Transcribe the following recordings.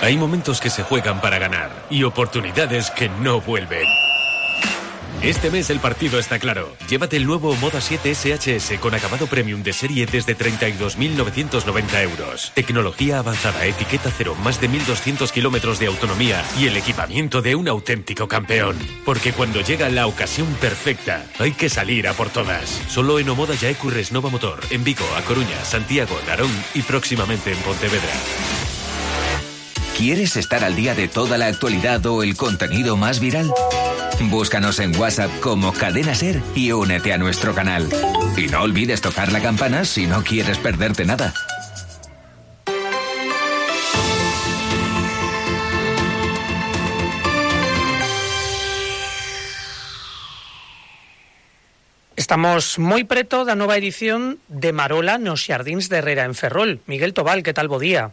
Hay momentos que se juegan para ganar y oportunidades que no vuelven. Este mes el partido está claro. Llévate el nuevo Moda 7 SHS con acabado premium de serie desde 32.990 euros. Tecnología avanzada, etiqueta cero, más de 1.200 kilómetros de autonomía y el equipamiento de un auténtico campeón. Porque cuando llega la ocasión perfecta, hay que salir a por todas. Solo en Omoda Yaecu Resnova Motor, en Vigo, A Coruña, Santiago, Narón y próximamente en Pontevedra. ¿Quieres estar al día de toda la actualidad o el contenido más viral? Búscanos en WhatsApp como Cadena Ser y únete a nuestro canal. Y no olvides tocar la campana si no quieres perderte nada. Estamos moi preto da nova edición de Marola nos Xardíns de Herrera en Ferrol. Miguel Tobal, que tal, bo día?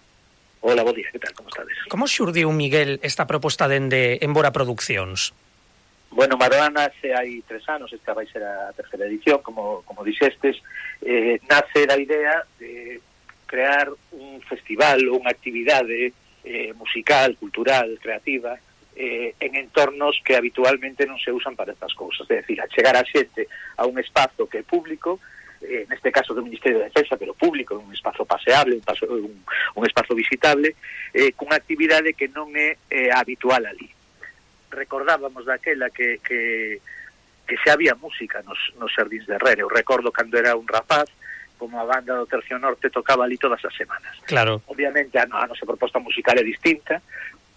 Hola, bo día, que tal, como estades? Como xurdiu, Miguel, esta proposta dende Embora Produccións? Bueno, Marola nace hai 3 anos, esta vai ser a terceira edición, como dixestes. Nace da idea de crear un festival ou unha actividade musical, cultural, creativa, en entornos que habitualmente non se usan para estas cousas. É dicir, a chegar a xente a un espazo que é público, neste caso do Ministerio de Defensa, pero público, un espazo paseable, un espazo visitable, cunha actividade que non é habitual ali. Recordábamos daquela que xa había música nos Xardíns de Herrera. Eu recordo cando era un rapaz, como a banda do Tercio Norte tocaba ali todas as semanas. Claro. Obviamente a nosa proposta musical é distinta,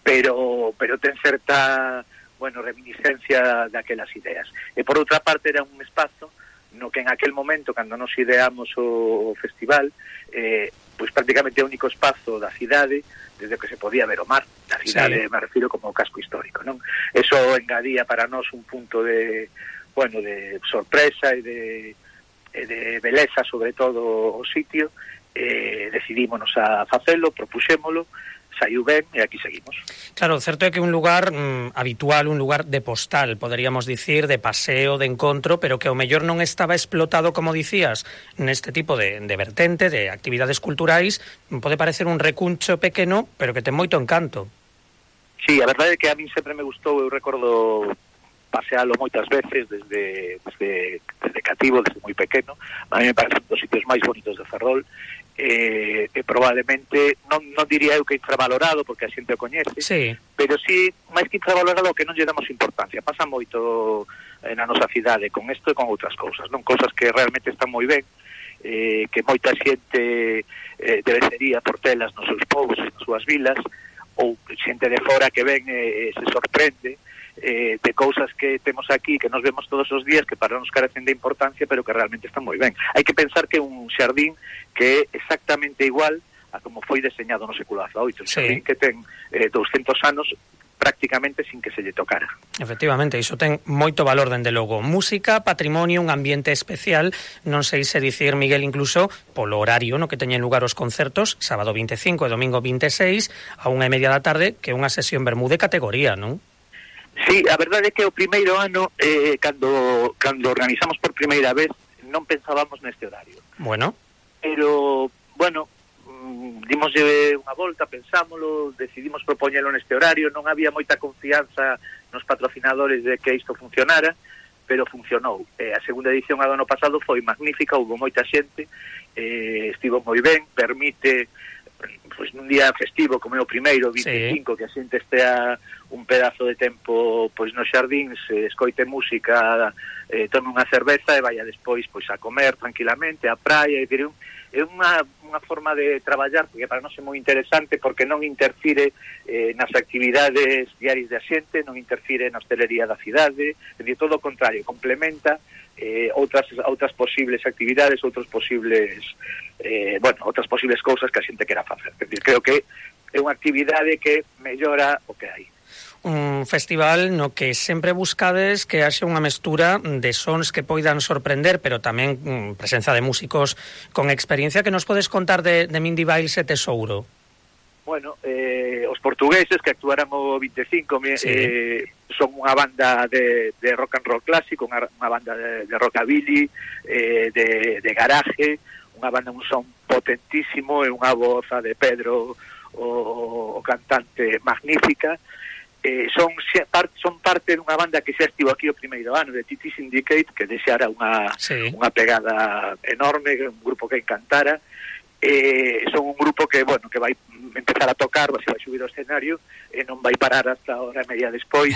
pero ten certa, reminiscencia daquelas ideas. E por outra parte era un espazo no que en aquel momento, cando nos ideamos o festival, pois prácticamente é o único espazo da cidade desde que se podía ver o mar da cidade, sí. Me refiro como o casco histórico, non? Eso engadía para nós un punto de sorpresa e de beleza, sobre todo o sitio. Decidímonos a facelo, propuxémolo, saiu ben e aquí seguimos. Claro, certo é que un lugar habitual, un lugar de postal, poderíamos dicir, de paseo, de encontro, pero que ao mellor non estaba explotado, como dicías, neste tipo de vertente, de actividades culturais. Pode parecer un recuncho pequeno, pero que ten moito encanto. Sí, a verdade é que a min sempre me gustou, eu recordo pasealo moitas veces desde cativo, desde moi pequeno. A mí me parece un dos sitios máis bonitos de Ferrol. Probablemente non diría eu que infravalorado, porque a xente o coñece, sí. Pero sí, máis que infravalorado, que non lle damos importancia. Pasa moito na nosa cidade con isto e con outras cousas, non? Cousas que realmente están moi ben, que moita xente debería por telas nos seus povos, nas súas vilas, ou xente de fora que ven se sorprende de cousas que temos aquí, que nos vemos todos os días, que para nos carecen de importancia, pero que realmente están moi ben. Hai que pensar que un xardín que é exactamente igual a como foi deseñado no século XVIII, un xardín que ten 200 anos prácticamente sin que se lle tocara. Efectivamente, iso ten moito valor, dende logo. Música, patrimonio, un ambiente especial, non sei se dicir, Miguel, incluso polo horario no que teñen lugar os concertos, sábado 25 e domingo 26, a 1:30 da tarde, que é unha sesión vermú de categoría, non? Sí, a verdade é que o primeiro ano, cando organizamos por primeira vez, non pensábamos neste horario. Bueno. Pero, dimoslle unha volta, pensámolo, decidimos propoñelo neste horario, non había moita confianza nos patrocinadores de que isto funcionara, pero funcionou. A segunda edición do ano pasado foi magnífica, houve moita xente, estivo moi ben, permite, pois nun día festivo como é o primeiro, 25, sí. Que a xente estea un pedazo de tempo pois nos xardíns, escoite música, tome unha cerveza e vaya despois pois a comer tranquilamente, a praia, é unha forma de traballar que para nós é moi interesante, porque non interfire nas actividades diarias da xente, non interfire na hostelería da cidade, de todo o contrario, complementa outras posibles actividades, outras posibles cousas que a xente quera facer. Creo que é unha actividade que mellora o que hai. Un festival no que sempre buscades que haxe unha mestura de sons que poidan sorprender, pero tamén presenza de músicos con experiencia. Que nos podes contar de Mindy Biles e Tesouro? Bueno, os portugueses que actuaran o 25 son unha banda de rock and roll clásico, unha banda de rockabilly, de garaje, unha banda, un son potentísimo, e unha voz a de Pedro, o cantante, magnífica. Son parte dunha banda que xa estivo aquí o primeiro ano, de Titi Syndicate, que deixara unha pegada enorme, un grupo que encantara. Son un grupo que, bueno, que vai empezar a tocar, vai subir ao escenario e non vai parar hasta hora e media despois.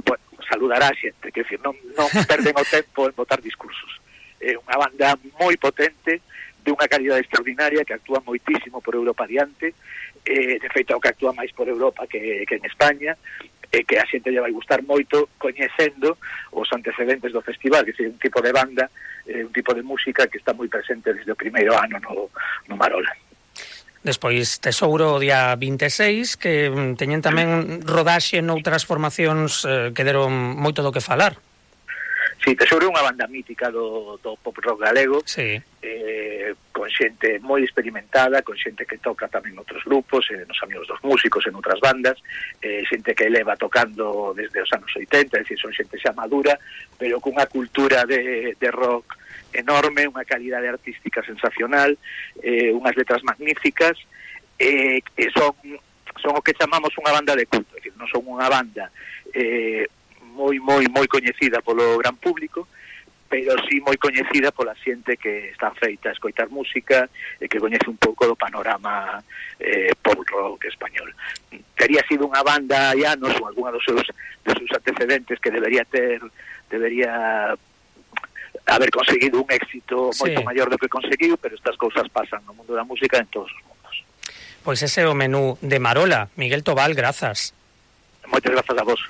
Bueno, saludará a xente, que decir, non perden o tempo en botar discursos. Unha banda moi potente, de unha calidade extraordinaria, que actúa moitísimo por Europa adiante, de feito que actúa máis por Europa que en España, que a xente lle vai gustar moito coñecendo os antecedentes do festival, que é un tipo de banda, un tipo de música que está moi presente desde o primeiro ano no Marola. Despois Tesouro o día 26, que teñen tamén rodaxe noutras formacións que deron moito do que falar. Sí, Tesouro é unha banda mítica do pop rock galego, sí. Con xente moi experimentada, con xente que toca tamén noutros grupos, nos Amigos dos Músicos, en outras bandas, xente que leva tocando desde os anos 80, é dicir, son xente xa madura, pero cunha cultura de rock enorme, unha calidade artística sensacional, unhas letras magníficas, son o que chamamos unha banda de culto, é dicir, non son unha banda moi coñecida polo gran público, pero sí moi coñecida pola xente que está feita a escoitar música e que coñece un pouco do panorama pop rock español. Tería sido unha banda hai anos, ou algunha dos seus antecedentes, que debería haber conseguido un éxito moito maior do que conseguiu, pero estas cousas pasan no mundo da música en todos os mundos. Pois ese é o menú de Marola. Miguel Tobal, grazas. Moitas grazas a vos.